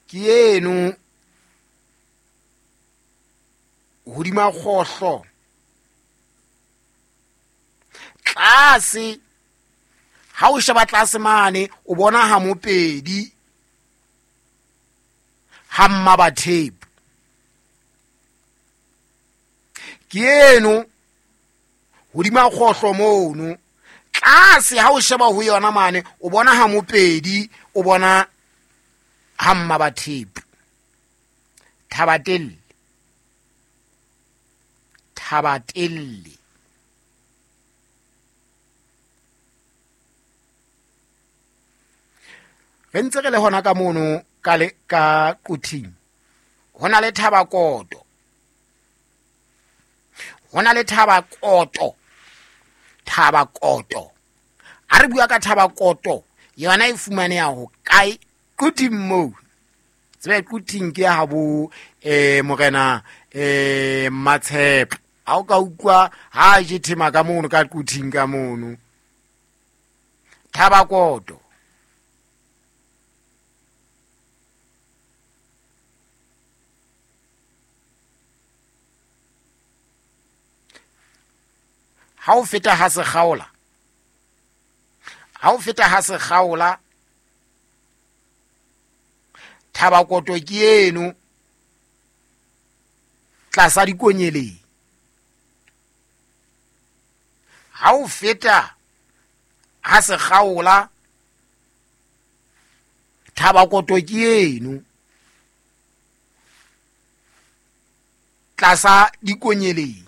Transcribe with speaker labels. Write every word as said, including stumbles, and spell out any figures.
Speaker 1: Ke eno hodima kgohlo tlase, ha o sheba tlase mane o bona ha Mopedi ha Mmabathepu. Ke eno hodima kgohlo mono tlase, ha o sheba ho yona mane o bona ha Mopedi, o bona ha Mmabathepu. Thabatelle, Thabatelle. Re ntse re le hona ka mono ka le ka Quthing, ho na le Thabakoto, ho na le Thabakoto, Thabakoto. Ha re bua ka Thabakoto, yona e fumaneha ho kae? Quthing moo. Tsebe Quthing ke ya habo eh morena eh Matshepo. Ha o ka utlwa ha je thema ka mono ka Quthing ka mono. Thabakoto. Ha o feta ha Sekgaola, ha o feta ha Sekgaola, Thabakoto ke eno tlasa dikonyeleng. Ha o feta ha Sekgaola, Thabakoto ke eno tlasa dikonyeleng.